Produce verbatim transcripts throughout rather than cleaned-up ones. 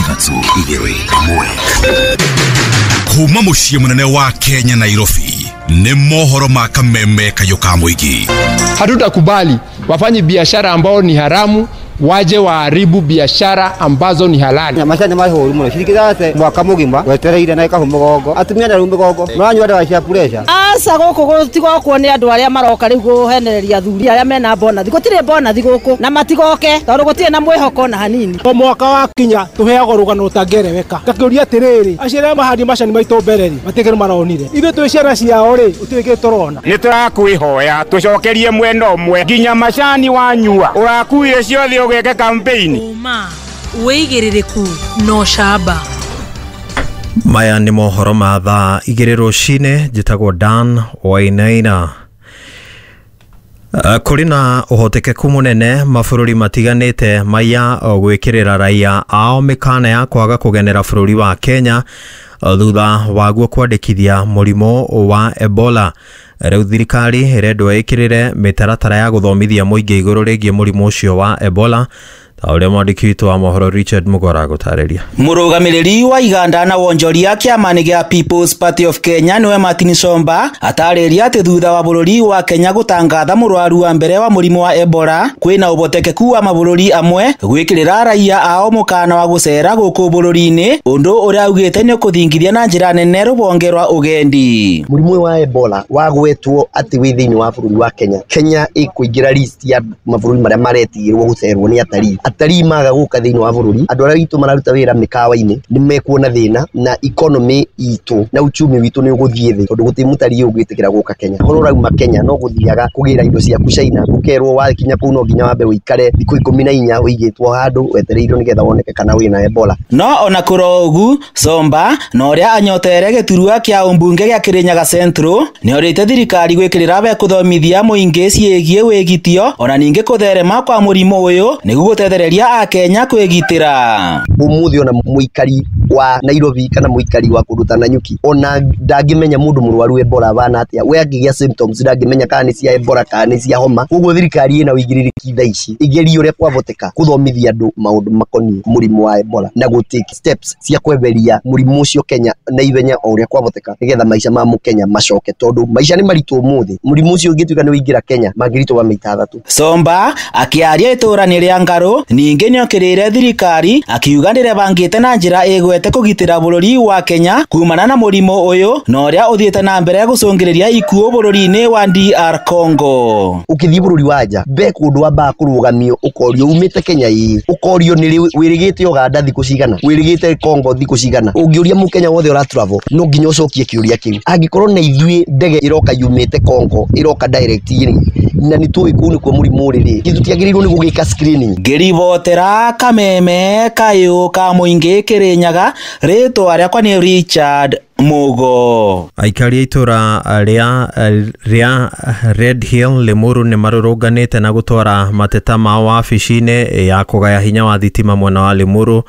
Ithatũ igĩrĩ ĩmwe. Kuma mũciĩ mũnene wa Kenya Nairobi nĩ mohoro ma kameme kayũ ka mũingĩ. Hatutakubali wafanye biashara ambao ni haramu waje waharibu biashara ambazo ni halali. Macani mahũru mũno cirikithate mwaka mũgima wetereire na ikahu mũgongo atumia na rĩu mĩgongo maranyua ndawa cia pressure. Aca gũkũ gũtigokwo nĩ andũ arĩa maroka rĩu kũhenereria athuri arĩa mena bonathi. Gũtirĩ bonathi gũkũ na matigoke tondũ gũtirĩ na mwĩhoko na hanini. O mwaka wakinya tũheagwo rũgano rũtangĩereweka. Ngakĩũria atĩrĩrĩ, acio arĩa mahandi macani maitũ mbere rĩ matikĩrĩ maronire ithuĩ twĩ ciana ciao rĩ gũtirĩ kĩndũ tũrona. Nĩ tũrakwĩhoya tũcokerie mwena ũmwe nginya macani wanyua ũrakuire ciothe ũgeke campaign. Ũma wĩigĩrĩrĩku no camba. Maya nĩ mohoro ma thaa igĩrĩ rũcinĩ. Njĩtagwo Dan Wainaina. Kũrĩ na ũhotekeku mũnene mabũrũri matiganĩte maya gwĩkĩrĩra raia ao mĩkana ya kwaga kũgenera bũrũri wa Kenya thutha waguo kwandĩkithia mũrimũ wa Ebola. Rĩu thirikari ĩrendwo ĩkĩrĩre mĩtaratara ya gũthomithia mũingĩ igũrũ rĩgiĩ mũrimũ ũcio wa Ebola ta ũrĩa mwandĩki witũ wa mohoro Richard Mugora agũtarĩria. Mũrũgamĩrĩri wa Iganda na wonjoria kĩama-inĩ gĩa People's Party of Kenya nĩwe Martin Somba atarĩria atĩ thutha wa bũrũri wa Kenya gũtangatha mũrwaru wa mbere wa mũrimũ wa Ebola kwĩna ũhotekeku wa mabũrũri amwe gwĩkĩrĩra raia ao mũkana wa gũcera gũkũ bũrũri-inĩ, ũndũ ũrĩa augĩte nĩ ũkũthingithia na njĩra nene rũhonge rwa ũgendi. Mũrimũ wa Ebola wagwetwo atĩ wĩ thĩinĩ wa bũrũri wa Kenya. Kenya ĩkũingĩra list ya mabũrũri marĩa maretigĩrwo gũcerwo nĩ atarii. Atarii maga gũka thĩinĩ wa bũrũri, andũ arĩa witũ mararuta wĩra mĩkawa-inĩ nĩ mekuona thĩna na economy itũ na uchumi witũ nĩ ũgũthiĩ thĩ tondũ gũtirĩ mũtarii ũngĩtĩkĩra gũka Kenya. Korwo ũrauma Kenya no gũthiaga kũgĩra indo ciaku China, ũkerwo wakinya kũu no nginya wambe ũikare thikũ ikũmi na inya ũigĩtwo handũ wetereirwo nĩgetha woneke kana wĩna Ebola. No ona kũrĩ ũguo Somba na ũrĩa anyotere gĩturwa kĩa ũmbunge gĩa Kirinyaga Central nĩorĩte thirikari gwĩkĩrĩra be kũthomithia mũingĩ ciĩgiĩ wĩgitio ona ningĩ kũtherema kwa mũrimũ ũyũ nĩguo gũtethereria akenya kwĩgitĩra. Ũmũthĩ ona mũikari wa Nairobi kana mũikari wa kũndũ ta Nanyuki ona ndangĩmenya mũndũ mũrwaru Ebola bana atĩa, we angĩgĩa symptoms ndangĩmenya kana nĩ cia Ebola kana nĩ cia homa. Koguo thirikari ĩna ũigĩrĩrĩki thaa ici ĩgerie ũrĩa kwahoteka kũthomithia andũ maũndũ makoniĩ mũrimũ wa Ebola na gũ take steps cia kweheria mũrimũ ũcio Kenya na ihenya o ũrĩa kwahoteka nĩgetha maica ma mũkenya macoke tondũ maica nĩ maritũ ũmũthĩ. Mũrimũ ũcio ũngĩtuĩka nĩ ũingĩra Kenya mangĩritũha maita athatũ. Somba akĩaria itũra-inĩ rĩa Ngarũ ningĩ nĩokĩrĩire thirikari akiuga ndĩrebangĩte na njĩra ĩgwete kũgitĩra bũrũri wa Kenya kumana na mũrimũ ũyũ na ũrĩa ũthiĩte na mbere gũcũngĩrĩria ikuũ bũrũri-inĩ wa D R Congo. Ũkĩthiĩ bũrũri wa nja be kũndũ wambaga kũrũgamio ũkorio umĩte Kenya ĩĩ, ũkorio nĩ wĩrĩgĩte Uganda thikũ cigana, wĩrĩgĩte Congo thikũ cigana. Ũngĩũria mũkenya wothe ũra travel no nginya ũcokie kĩũria kĩu. Angĩkorwo na ithuĩ ndege ĩroka yumĩte Congo ĩroka direct rĩ, na nĩ tũĩ kũu nĩkuo mũrimũ ũrĩ rĩ, tũtiagĩrĩirwo nĩ gũgĩka screening. Ngĩribotera kameme kayũ ka mũingĩ Kirinyaga, rĩtwa rĩakwa nĩ Richard Mugo. Aikari a itũra rĩa rĩa Red Hill Limuru nĩ marũrũnganĩte na gũtwara mateta mao wabici-inĩ ya kũgaya hinya wa thitima mwena wa Limuru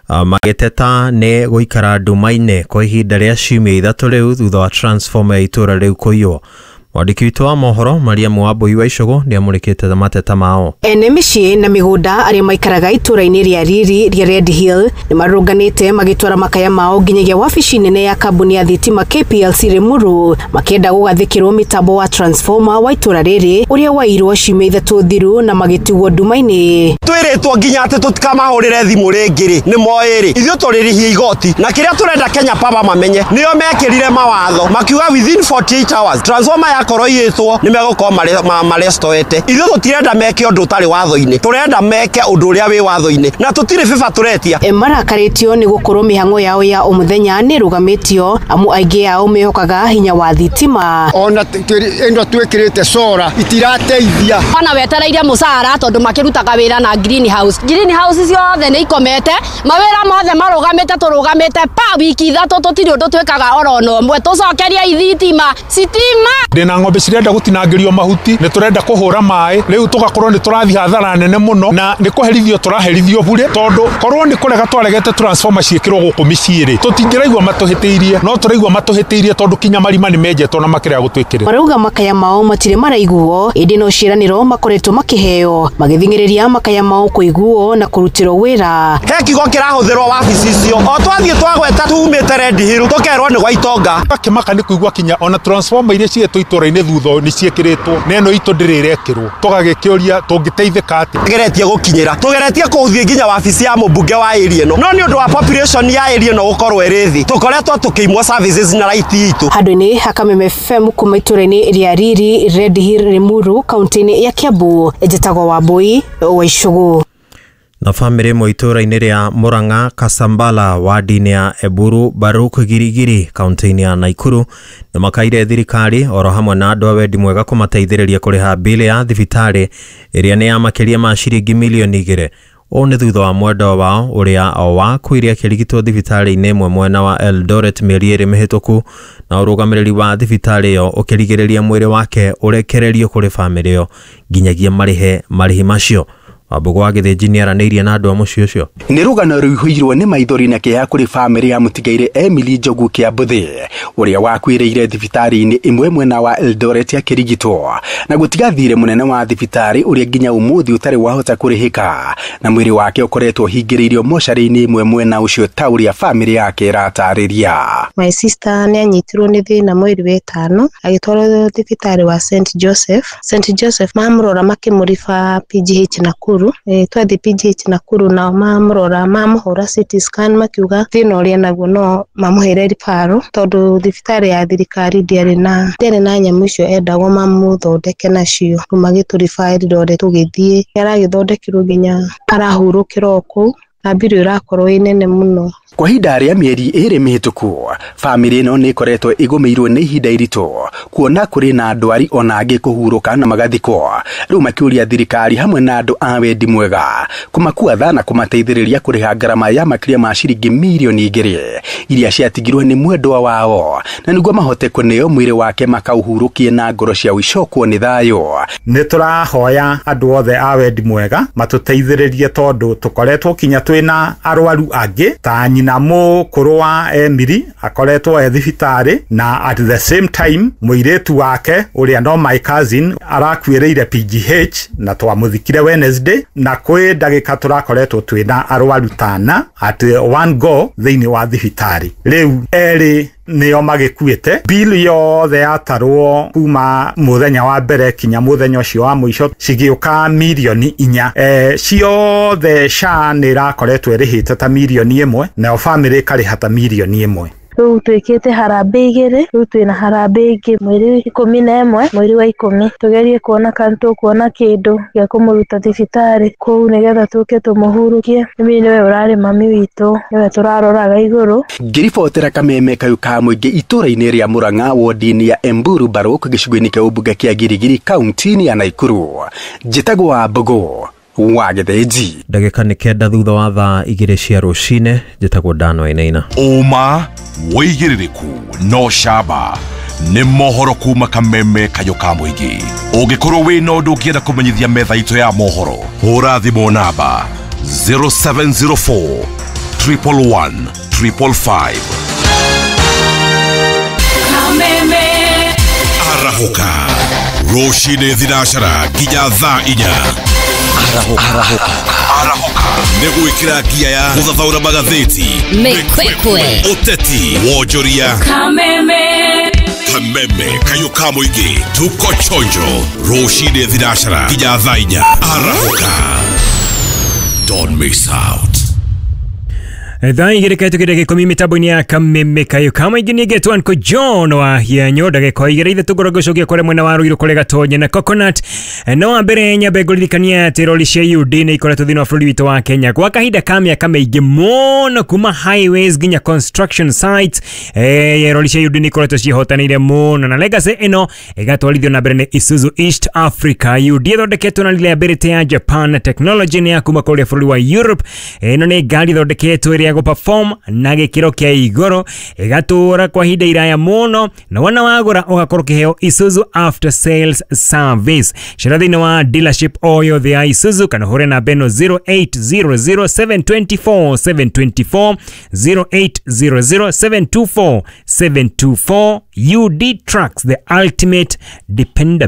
magĩteta nĩ gũikara nduma-inĩ kwa ihinda rĩa ciumia ithatũ rĩu thutha wa transformer ya itũra rĩu kũiywo. Mwandĩki witũ wa mohoro Mariamu Wambui wa Icũgũ nĩamũrĩkĩte mateta mao. Ene mĩciĩ na mĩgũnda arĩa maikaraga itũra-inĩ rĩa Riri rĩa Red Hill nĩ marũrũnganĩte magĩtwara makaya mao nginyagia wabici nene ya kambuni ya thitima K P L C Limuru makĩenda gũgathĩkĩrwo mĩtambo wa transformer wa itũra rĩrĩ ũrĩa wairwo ciumia ithatũ thiru na magĩtigwo nduma-inĩ. Twĩrĩtwo nginya atĩ tũtikamahũrĩre thimũ rĩngĩ rĩ, nĩ moĩ rĩ, ithuĩ tũrĩrĩhia igoti na kĩrĩa tũrenda Kenya Power mamenye nĩo mekĩrire mawatho makiuga within forty-eight hours transformer yakorwo iyĩtwo nĩ megũkorwo marestoete. Ithuĩ tũtirenda meke ũndũ ũtarĩ watho-inĩ, tũrenda meke ũndũ ũrĩa wĩ watho-inĩ na tũtirĩ bĩba tũretia. Marakarĩtio nĩ gũkorwo mĩhang'o yao ya o mũthenya nĩ ĩrũgamĩtio amu aingĩ ao mehokaga hinya wa thitima. Ona ĩno twĩkĩrĩte sora itirateithia. Ona wetereire mũcara tondũ makĩrutaga wĩra na greenhouse. Greenhouse ciothe nĩ ikomete, mawĩra mothe marũgamĩte, tũrũgamĩte pa wiki ithatũ tũtirĩ ũndũ twĩkaga oro na ũmwe. Tũcokerie ithitima, sitima. Ndĩna Twina ng'ombe cirenda gutinangĩrio mahuti, nĩ tũrenda kũhũra maĩ, rĩu tũgakorwo nĩ tũrathiĩ hathara nene mũno na nĩ kũherithio tũraherithio bure, tondũ korwo nĩ kũrega twaregete transformer ciĩkĩrwo gũkũ mĩciĩ rĩ, tũtingĩraigua matũhĩtĩirie, no tũraigua matũhĩtĩirie tondũ kinya marima nĩ menjetwo na makĩrega gũtwĩkĩrĩra. Marauga makaya mao matirĩ maraiguo ĩndĩ no ciĩranĩro makoretwo makĩheo magĩthing'ĩrĩria makaya mao kũiguo na kũrutĩrwo wĩra. He kiugo kĩrahũthĩrwo wabici icio o twathiĩ twagweta tumĩte Red Hill tũkerwo nĩ gwa itonga. Akĩmaka nĩ kũigua kinya ona transformer iria cietwo itũra-inĩ thutha nĩ ciĩkĩrĩtwo na ĩno itũ ndĩrĩ ĩrekĩrwo, tũgagĩkĩũria tũngĩteithĩka atĩa. Tugeretie gũkinyĩra, tugeretie kũthiĩ nginya wabici ya mũmbunge wa area ĩno, no nĩ ũndũ wa population ya area ĩno gũkorwo ĩrĩ thĩ tũkoretwo tũkĩimwo services na right itũ. Handũ-inĩ ha Kameme F M kuma itũra-inĩ rĩa Riri, Red Hill, Limuru, kaunti-inĩ ya Kiambu, njĩtagwo Wambui wa Icũgũ. Na bamĩrĩ ĩmwe itũra-inĩ rĩa Murang'a Kasambala wadi-inĩ ya Eburu Baruk Girigiri kaunti-inĩ ya Naikuru nĩ makaire thirikari oro hamwe na andũ a wendi mwega kũmateithĩrĩria kũrĩha bili ya thibitarĩ ĩrĩa nĩ ya makĩria ma ciringi milioni igĩrĩ. Ũũ nĩ thutha wa mwendwa wao ũrĩa wakuire akĩrigitwo thibitarĩ-inĩ ĩmwe mwena wa Eldoret mĩeri ĩrĩ mĩhĩtũku, na ũrũgamĩrĩri wa thibitarĩ ĩyo ũkĩrigĩrĩria mwĩrĩ wake ũrekererio kũrĩ bamĩrĩ ĩyo nginyagia marĩhe marĩhi macio. Wambũgũ wa Gĩthĩnji nĩaranĩirie na andũ a mũciĩ ũcio. Nĩ rũgano rũihũirwo nĩ maithori na kĩeha kũrĩ bamĩrĩ ya mũtigairĩ Emily Njogu Kĩambũthĩ ũrĩa wakuĩrĩire thibitarĩ-inĩ ĩmwe mwena wa Eldoret akĩrigitwo na gũtiga thirĩ mũnene wa thibitarĩ ũrĩa nginya ũmũthĩ ũtarĩ wahota kũrĩhĩka, na mwĩrĩ wake ũkoretwo ũhingĩrĩirio mocarĩ-inĩ ĩmwe mwena ũcio ta ũrĩa bamĩrĩ yake ĩratarĩria. My sister nĩ anyitirwo nĩ thĩna mweri wa ĩtano agĩtwarwo thibitarĩ wa Saint Joseph. Saint Joseph mamũrora makĩmũriba P G H Nakuru. E, twathi P G H Nakuru nao mamũrora mamũhũra C T scan makiuga thĩna ũrĩa naguo no mamũhere referral tondũ thibitarĩ ya thirikari ndĩarĩ na ndĩarĩ na nyamũ icio endagwo mamũthondeke nacio. Rĩu magĩtũriba Eldoret tũgĩthiĩ, aragĩthondekirwo nginya arahurũkĩra o kũu na mbirũ ĩrakorwo ĩ nene mũno. Kwa ihinda rĩa mĩeri ĩrĩ mĩhĩtũku bamĩrĩ ĩno nĩ ĩkoretwo ĩgũmĩirwo nĩ ihinda iritũ kuona kũrĩ na ndwari ona angĩ kũhurũka na magathikwo, rĩu makĩũria thirikari hamwe na andũ a wendi mwega kũmakua tha na kũmateithĩrĩria kũrĩha ngarama ya makĩria ma ciringi mirioni igĩrĩ iria ciatigirwo nĩ mwendwa wao na nĩguo mahote kũneo mwĩrĩ wake makauhurũkie na ngoro ciao icokwo nĩ thayũ. Nĩ tũrahoya andũ othe a wendi mwega matũteithĩrĩrie tondũ tũkoretwo kinya twĩna arwaru angĩ ta nyina mũkũrũ wa Emily akoretwo e thibitarĩ, na at the same time mũirĩtu wake ũrĩa no my cousin arakuĩrĩire P G H na twamũthikire Wednesday, na kwĩ ndagĩka tũrakoretwo twĩna arwaru tana at one go thĩinĩ wa thibitarĩ. Rĩu erĩ nĩo magĩkuĩte. Bill yothe yatarwo kuma mũthenya wa mbere kinya mũthenya ũcio wa mũico cigĩũka mirioni inya. E, ciothe S H A nĩ ĩrakoretwo ĩrĩhĩte ta mirioni ĩmwe nayo bamĩrĩ ĩkarĩha ta mirioni ĩmwe. Rĩu twĩkĩte harambĩ igĩrĩ, rĩu twĩna harambĩ ĩngĩ mweri ikũmi na ĩmwe mweri wa ikũmi, tũgerie kuona kana tũkuona kĩndũ gĩa kũmũruta thibitarĩ kũu nĩgetha tũke tũmũhurũkie. Emily nĩwe ũrarĩ mami witũ, nĩwe tũraroraga igũrũ. Ngĩribotera Kameme kayũ ka mũingĩ itũra-inĩ rĩa Murang'a wodi-inĩ ya Emburu Baruk gĩcigo-inĩ kĩa ũmbunge kĩa Girigiri kaunti-inĩ ya Naikuru, njĩtagwo Wambũgũ wa Gĩthĩnji. Ndagĩka nĩ kenda thutha wa thaa igĩrĩ cia rũcinĩ, njĩtagwo Dan Wainaina. Ũma wĩigĩrĩrĩku no camba nĩ mohoro kuma Kameme kayũ ka mũingĩ. Ũngĩkorwo wĩna ũndũ ũngĩenda kũmenyithia metha itũ ya mohoro, hũra thimũ namba zero seven zero four triple one triple five. Kameme arahũka rũcinĩ thinacara nginya thaa inya. Arahũka arahũka nĩ gwĩkĩra ngia ya gũthathaũra magathĩti, mĩkwekwe, ũteti, wonjoria. Kameme Kameme kayũ ka mũingĩ, tuko chonjo rũcinĩ thinacara nginya thaa inya. Arahũka, don't miss out. Thaa igĩrĩ kahĩtũkĩte ndagĩka ikũmi mĩtambo-inĩ ya Kameme kayũ ka mũingĩ nĩ ngetwo Uncle John wa Hianyo. Ndagĩka igĩrĩ ithatũ ngorwo ngĩcokia kũrĩa mwena wa Ruiru kũrĩa Gatonye na Coconut. No wa mbere nyambe ngũririkania atĩ rori cia U D nĩ ikoretwo thĩinĩ wa bũrũri witũ wa Kenya kwa kahinda ka mĩaka mĩingĩ mũno, kuma highways nginya construction sites. Eh, rori cia U D nĩ ikoretwo ciĩhotanĩire mũno na legacy ĩno ĩgatwarithio na mbere nĩ Isuzu East Africa. U D ĩthondeketwo na reliability ya Japan, technology nĩ ya kuma kũrĩa bũrũri wa Europe. Ĩno nĩ ngari ĩthondeketwo ĩrĩa ya gũperform na gĩkĩro kĩa igũrũ, ĩgatũra kwa ihinda iraya mũno, na wona wagũra ũgakorwo ũkĩheo Isuzu after sales service. Cera thĩinĩ wa dealership o yothe ya Isuzu kana ũhũre namba ĩno zero eight zero zero seven two four seven two four, zero eight zero zero seven two four seven two four. U D Trucks, the ultimate dependability.